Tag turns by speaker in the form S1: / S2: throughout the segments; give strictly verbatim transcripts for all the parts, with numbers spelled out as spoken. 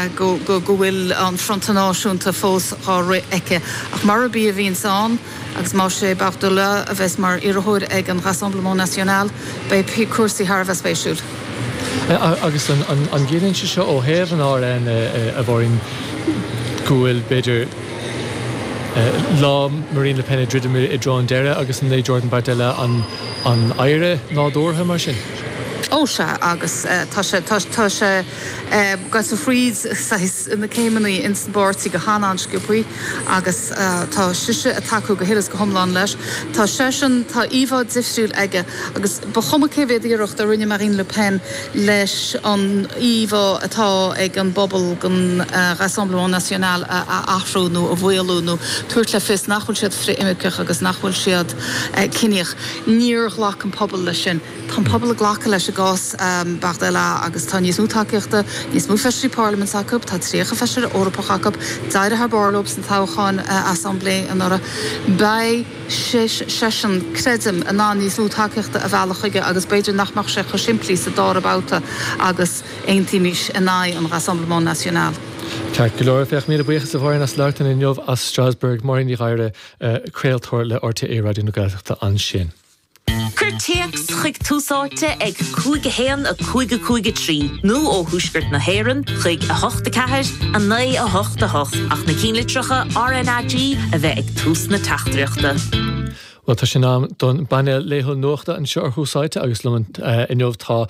S1: go go go bhfuil an Fronta Náisiúnta fós á rith aici. Ach mar a bí a bhíonn ann agus má sé Bardella a bheas mar iarrthóir ag an Rassemblement National beidh cúrsaí thar a bheith spéisiúil.
S2: Agus an gciallaíonn sé seo ó thaobh an R N a bhóín go bhfuil b'fhéidir lá Marine Le Pen ag druidim i dtreo an deireadh agus an é Jordan Bardella an an oidhre nádúrtha mar sin?
S1: Ó sea, agus tá sé tá sé ag dul fríd na céimeanna ins an bpáirtí go han-an-sciobtha agus tá sise ag tacú go huile is go hiomlán leis. Tá seisean, tá íomhá difriúil aige agus ba chuma cé mhéad iarracht a rinne Marine Le Pen leis an íomhá atá ag an bpobal den Rassemblement National a athrú nó a mhaolú nó tabhairt le fios nach bhfuil siad frith-imirceach agus nach bhfuil siad ciníoch. Níor ghlac an pobal leis sin. Tá an pobal ag glacadh leis i gcás um, Bardella agus tá níos mó tacaíochta, níos mó feisirí parlaiminte acu, tá tríocha feisire Eorpach acu, d'éirigh thar barr leo san toghchán uh, Assemblée anuraidh. Beidh seisean, creidim, in ann níos mó tacaíochta a mhealladh chuige agus b'fhéidir nach mbeadh sé chomh simplí sa dara babhta agus aontaímis in aghaidh an Rassemblement National.
S2: Ceart go leor, féach, míle buíochas a Mháirín as labhairt linn inniu as Strasbourg. Máirín Ní Ghadhra, craoltóir le R T É Raidió na Gaeltachta ansin.
S3: Cuir téacs chuig Tús Áite ag cúig a haon a cúig a cúig a trí nó ó Thuaisceart na hÉireann chuig a hocht a ceathair a naoi a hocht a hocht ach na ceannlitreacha R N A G a bheith ag tús na teachtaireachta.
S2: Well, tá sin am don bpainéal laethúil nuachta anseo ar Thús Áite agus liom inniu tá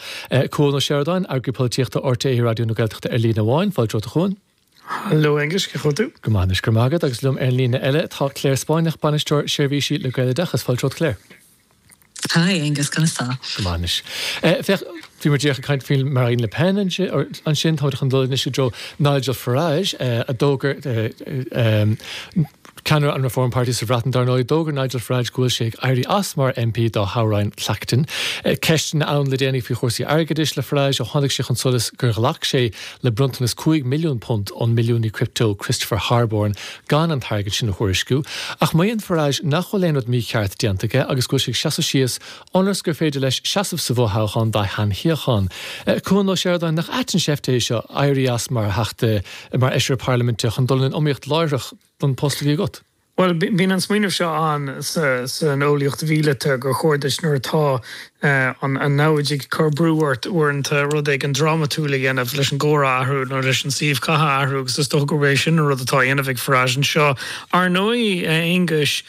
S2: Cuan Ó Seireadáin, eagraí polaitíochta R T É Raidió na Gaeltachta ar líne amháin. Fáilte romhat, a Chuain.
S4: Hello, Aengus, cén chaoi tú?
S2: Go maith, go maith agus liom ar líne eile tá Claire Spáinneach, bainisteoir seirbhísí le Gaeloideachas. Fáilte romhat, Claire.
S5: Hi, Aengus, conas tá?
S2: Go maith. Féach, bhí muid ag caint faoi Marine Le Pen ansin, tá chun dul anois go Nigel Farage a d'fhógair, ceannaire an Reform Party sa Bhreatain dar ndóigh, d'fhógair Nigel Farage go bhfuil sé ag éirí as mar M P dá thoghroinn Clacton. Ceisteanna ann le déanaí faoi chúrsaí airgeadais le Farage ó tháinig sé chun solais gur ghlac sé le bronntanas cúig milliún punt ón milliúnaí crypto Christopher Harborne gan an t-airgead sin a thuairisciú. Ach maíonn Farage nach bhfuil aon rud mícheart déanta aige agus go bhfuil sé seasamh síos ionas gur féidir leis seasamh sa bhfothoghchán dá sheanshuíochán. Cuan Ó Seireadáin, nach ait an seift é seo éirí as mar theachta, mar fheisire parlaiminte, chun dul in iomaíocht láithreach don post a bhí agat?
S4: Well, bíonn an smaoineamh seo an san eolaíocht mhíleata gur chóir duit nuair atá an an namhaid ag cur brú ort uaireanta rud éigin drámatúil a dhéanamh leis an gcomhrá a athrú nó leis an suíomh catha a athrú, agus is dócha gurb é sin an rud atá á dhéanamh ag Farage anseo. Ar ndóigh, Aengus,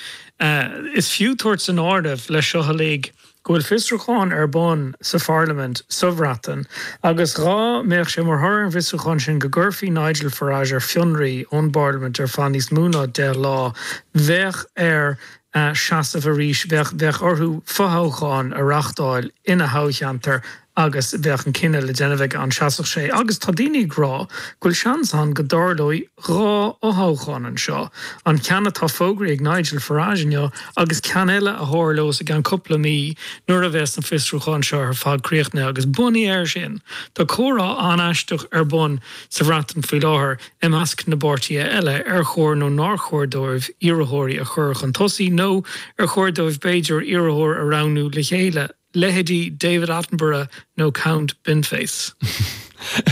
S4: is fiú tabhairt san áireamh leis seo uilig go bhfuil fiosrúchán ar bun sa Pharlaimint sa Bhreatain agus dhá mbeadh sé mar thoradh ar an bhfiosrúchán sin go gcuirfí Nigel Farage ar fionraí ón bParlaimint ar feadh níos mó ná deich lá, bheadh air seasamh arís, bheadh bheadh orthu fothoghchán a reáchtáil ina thoghcheantar agus bheadh an cinneadh le déanamh aige an seasfadh sé. Agus tá daoine ag rá go bhfuil seans ann go dtarlóidh dhá fhothoghchán anseo, an ceann atá fógraithe ag Nigel Farage inniu agus ceann eile a tharlós i gceann cúpla mí nuair a bheas an fiosrúchán seo ar fad críochnaithe. Agus bunaithe air sin, tá comhrá an-aisteach ar bun sa Bhreatain faoi láthair i measc na bpáirtithe eile ar chóir nó nár chóir dóibh iarrthóirí a chur chun tosaigh nó ar chóir dóibh b'fhéidir iarrthóir a roghnú le chéile, leithéidí David Attenborough nó Count Binface.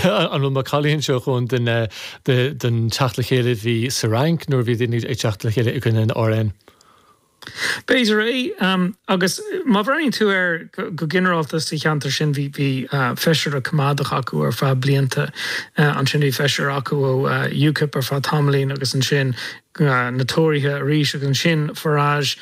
S2: An bhfuil macallaí anseo chun den den teacht le chéile bhí sa Fhrainc nuair bhí daoine ag teacht le chéile i gcoinne an R N?
S4: B'fhéidir é, agus má bhreathnaíonn tú air go ginearálta sa cheantar sin bhí bhí feisire coimeádach acu ar feadh blianta, ansin bhí feisire acu ó UKIP ar feadh tamaillín agus ansin na Tóraithe arís agus ansin Farage.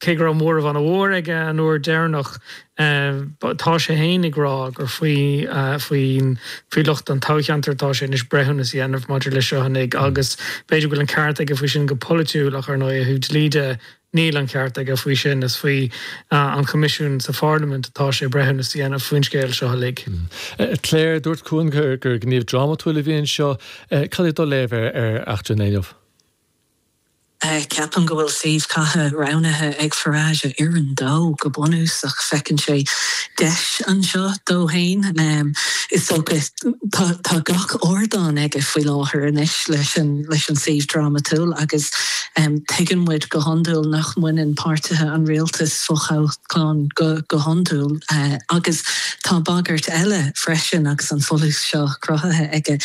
S4: Cé go raibh móramh an-mhór aige an uair deireanach, tá sé féin ag rá gur faoi faoin faoi lucht an toghcheantair atá sé anois breithiúnas a dhéanamh maidir leis seo uilig agus b'fhéidir go bhfuil an ceart aige faoi sin go polaitiúil, ach ar ndóigh ó thaobh dlí de níl an ceart aige faoi sin. Is faoi an Choimisiún sa Pharlaimint atá sé breithiúnas a dhéanamh faoin scéal seo uilig.
S2: Claire, dúirt Cuan gur gur gníomh drámatúil a bhí anseo. Cad é do léamh ar ar eachtra inniu?
S5: Ceapaim go bhfuil suíomh catha roghnaithe ag Farage a oireann dó go bunúsach feiceann sé deis anseo dó féin. Is dócha tá gach ardán aige faoi láthair anois leis an leis an suíomh drámatúil agus tuigeann muid go hiondúil nach mbaineann páirtithe an rialtais fothoghchán go go hiondúil agus tá bagairt eile freisin agus an folús seo cruthaithe aige.